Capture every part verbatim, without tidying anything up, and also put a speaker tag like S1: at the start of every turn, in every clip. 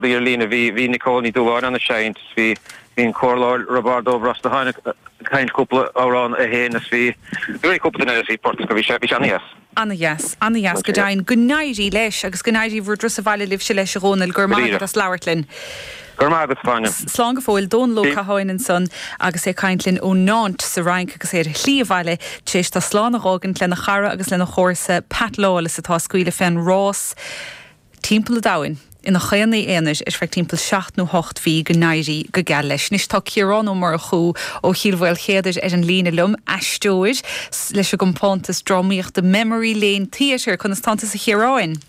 S1: Bhí ar líne bhí bhí Nicole Ní Dúláin ann ag seinnt bhí bhí an Comhairleoir Roibeárd Ó Brosnacháin ag caint cúpla amhrán é féin is bhí bhí cúpla duine bhí port go bhí sé bhí sé an-dheas.
S2: An-dheas, an-dheas go deimhin go n-éirí leis agus go n-éirí bhur dturas abhaile libhse leis a Dhónaill go raibh maith agat as labhairt linn.
S1: Go raibh maith agat Áine.
S2: Slán go fóill Dónal Ó Catháin ansan agus é ag caint linn ó Nantes sa Fhrainc agus é ar a shlí abhaile tar éis dó slán a dh'fhágaint lena chara agus lena chomharsa Pat Lawless atá ag scaoileadh fén rás timpeall an domhain ina chaonaí aonair ar feadh timpeall seacht nó hocht mhí go n-éirí go geal leis. Anois tá Ciarán Ó Murchú ó Chill Mhaoilchéadair ar an líne liom, aisteoir leis an gcompántas drámaíochta Memory Lane Theatre. Conas tánn tusa a Chiaráin?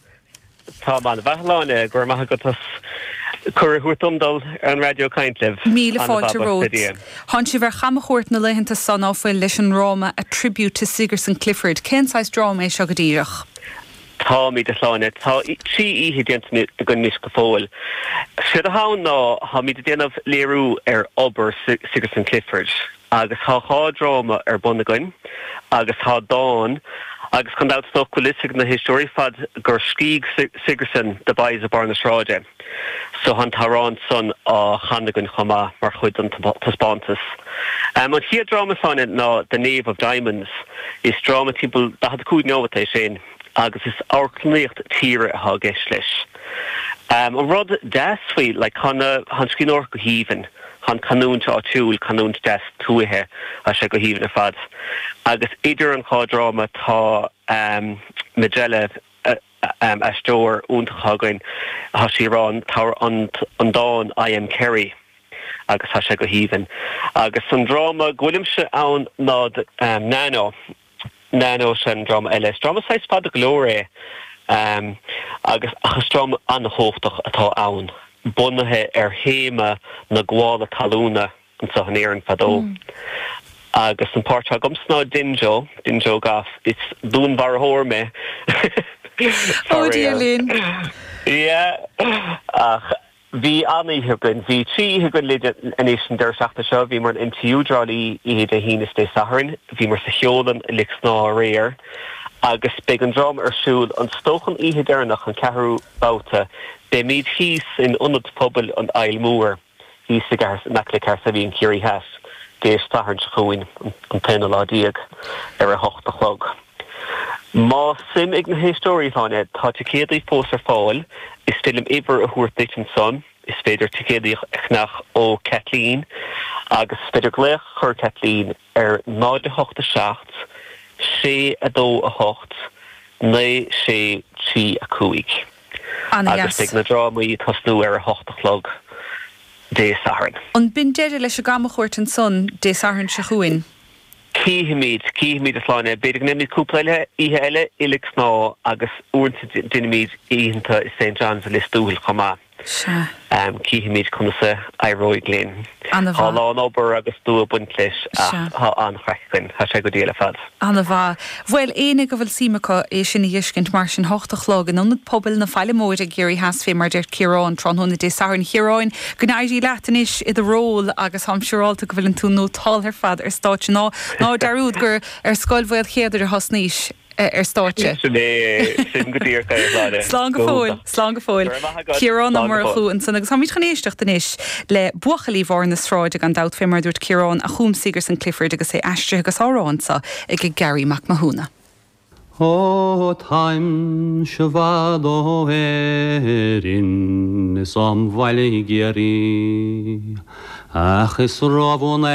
S3: Tá mé an-mhaith a Shláine, go raibh maith agat as cuireadh a thabhairt dom dul ar an raidió caint libh.
S2: Míle fáilte romhat. Tánn sibh ar chamchuairt na laethanta so ná fuil leis an ndráma A Tribute to Sigerson Clifford. Cén saghas dráma é seo go díreach?
S3: Táimid, a Shláine. Tá trí oíche déanta againn anois go fóill. Séard atá ann ná táimid ag déanamh léiriú ar obair Sigerson Clifford agus tá dhá dráma ar bun againn agus tá dán agus gan dabht is dócha go bhfuil fhios ag na héisteoirí ar fad gur scrígh Sigerson The Boys of Barr na Sráide so tá an t-amhrán san á chanadh againn chomh maith mar chuid den taispeántas. An chéad dráma Shláine ná The Knave of Diamonds. Is dráma timpeall daichead a cúig nóiméad é sin. agus is amharclannaíocht tíre atá i gceist leis. An rud deas faoi, like, tá na, tá an scríbhneoireacht go haoibhinn, tá an canúint áitiúil, canúint deas tuaithe, tá sé go haoibhinn ar fad. Agus idir an dhá dráma tá Majella, aisteoir iontach atá againn, tá sí ag rá an, an dán I am Kerry agus tá sé go haoibhinn. Agus an dráma go bhfuilimse ann ná Nano. Nano sin an dráma eile. Is dráma saghas fada go leor é agus ach is dráma an-chumhachtach atá ann, bunaithe ar théama na gabhála talúna anseo in Éirinn fadó. Agus an páirt atá agamsa ná Dinjo, Dinjo Gough. Is dúnmharfóir mé,
S2: Ó Dia linn!
S3: Yeah, ach Bhí an-oíche againn. Bhí trí oíche againn le anois an deireadh seachtaine seo. Bhíomar in MTU i dTrá Lí oíche Dé hAoine is Dé Sathairn. Bhíomar sa Cheolann i Lios Snámha aréir agus beidh an dráma ar siúl an is dócha an oíche deireanach, an ceathrú babhta. Beimid thíos in Ionad Pobail an Fhaill Mhór thíos i gCathair, in aice le Cahersiveen i gCiarraí Theas, Dé Sathairn seo chugainn, an t-aonú lá déag, ar a hocht a chlog. Más suim ag na héisteoirí, a Shláine, tá ticéadaí fós ar fáil. Is féidir liom uimhir a thabhairt duit ansan. Is féidir ticéadaí a cheannach ó Kathleen agus is féidir glaoch a chur ar Kathleen ar náid a hocht a seacht, sé a dó a hocht, naoi sé trí a cúig. Agus
S2: An-dheas.
S3: beidh na drámaí ag tosnú ar a hocht a chlog Dé Sathairn.
S2: An b'in deireadh leis an gcamchuairt ansan Dé Sathairn seo chugainn?
S3: Cífimid, cífimid a Shláine. B'fhéidir go ndéanfaimid cúpla eile, oíche eile i Lios Snámha agus uaireanta déanaimid oícheanta i Saint John's i Lios Tuathail chomh maith.
S2: Sea.
S3: Cífimid conas a éireoidh linn.
S2: Ana-mhaith.
S3: Tá a lán obair agus dua ag baint leis ach
S2: Sea.
S3: tá an-chraic againn. Tá sé go diail ar fad.
S2: Ana-mhaith. Bhuel, éinne go bhfuil suim acu é sin a dh'fheiscint mar sin, hocht a chlog in Ionad Pobail na Faille Móire i gCiarraí Theas fé mar deir Ciarán tráthnóna Dé Sathairn. Chiaráin, go n-éirí leat anois i do ról agus táim siúrálta go bhfuileann tú nótáltha ar fad ar stáitse. Ná ná dearúd gur ar Scoil Mhaolchéadair a thosnaís ar stáitse.
S3: Sin é, sin go díreach é, a Shláine.
S2: Slán go fóill, slán go fóill.
S3: Go raibh maith agat.
S2: Ciarán Ó
S3: Slán go fóill.
S2: Murchú ansan agus táimid chun éisteacht anois le Buachaillí Bharr na Sráide gan dabht fé mar a dúirt Ciarán a chum Sigerson Clifford agus é aistrithe agus á rá anso ag Garry Mac Mathúna.
S4: Ó táimse i bhfad ó Éirinn is óm bhaile i gCiarraí, ach is rómhór an